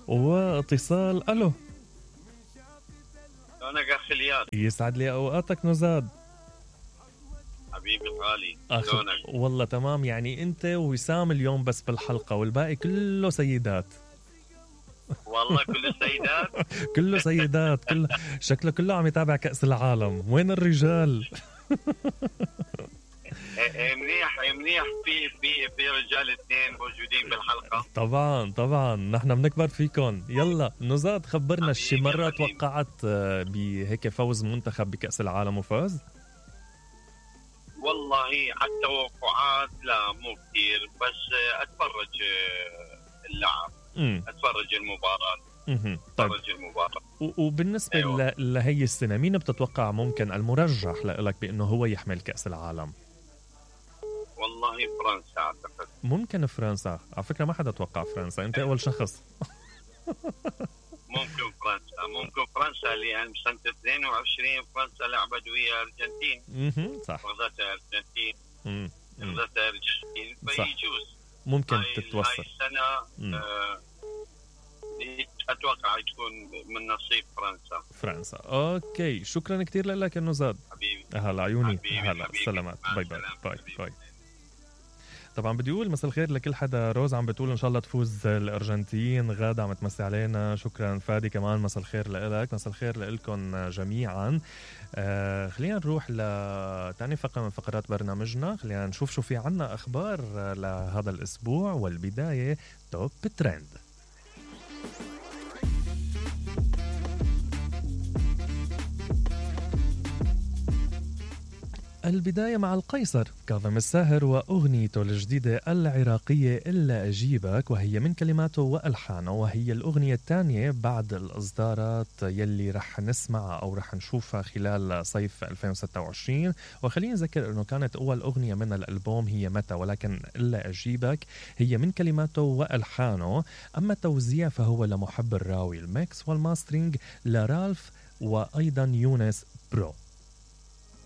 واتصال. الو، شلونك اخي الياس؟ يسعد لي اوقاتك نزاد حبيبي الغالي، شلونك؟ والله تمام. يعني انت ووسام اليوم بس بالحلقة والباقي كله سيدات. والله كله سيدات. كله سيدات، كله شكله كله عم يتابع كأس العالم. وين الرجال؟ منيح منيح، في رجال اثنين موجودين بالحلقة. طبعا نحن بنكبر فيكم. يلا نزاد، خبرنا شي مرة توقعت بهيك فوز منتخب بكأس العالم وفاز؟ والله على التوقعات لا مو كثير، بس اتفرج اللعب، اتفرج المباراة. طيب. اتفرج المباراة. وبالنسبة أيوة. لهي السنة مين بتتوقع ممكن المرجح لك بأنه هو يحمل كأس العالم؟ والله فرنسا اعتقد. ممكن فرنسا. على فكرة ما حدا توقع فرنسا، انت اول شخص. ممكن فرنسا لأن سنة 22 فرنسا لعبت ويا الأرجنتين. صح. غزتها الأرجنتين. فيجوز ممكن تتوصل. هاي السنة أتوقع تكون من نصيب فرنسا. اوكي، شكرا كتير لك يا نزاد. حبيبي. هلا عيوني. هلا سلامات. باي. طبعا بدي اقول مساء الخير لكل حدا. روز عم بتقول ان شاء الله تفوز الارجنتين. غادة عم تمسي علينا. شكرا. فادي كمان مساء الخير لك. مساء الخير لكم جميعا. خلينا نروح لتاني فقرة من فقرات برنامجنا. خلينا نشوف شو في عنا اخبار لهذا الاسبوع، والبداية توب ترند. البداية مع القيصر كاظم الساهر وأغنيته الجديدة العراقية إلا أجيبك، وهي من كلماته وألحانه، وهي الأغنية الثانية بعد الإصدارات يلي رح نسمعها أو رح نشوفها خلال صيف 2026. وخلينا نذكر أنه كانت أول أغنية من الألبوم هي متى، ولكن إلا أجيبك هي من كلماته وألحانه. أما التوزيع فهو لمحب الراوي، الميكس والماسترينج لرالف وأيضا يونس برو.